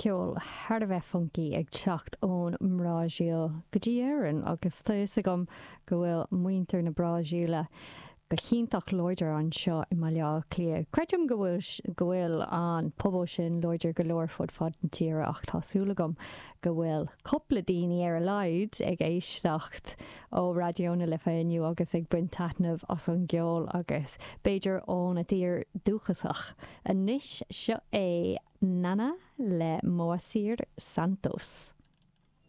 Ceol thar a bheith funky ag teacht ón mBrasaíl go dtí Éirinn agus tá fhios agam go bhfuil muintir na Brasaíle go hiontach láidir anseo i mBaile Átha Cliath. Creidim go bhfuil go bhfuil an pobal sin láidir go leor fud fad na tíre ach tá súil agam go bhfuil cúpla daoine ar a laghad ag éisteacht ó Raidió na Life inniu agus ag baint taitneamh as an gceol agus b'fhéidir óna dtír dúchasach. Anois seo é Nana le Moacir Santos.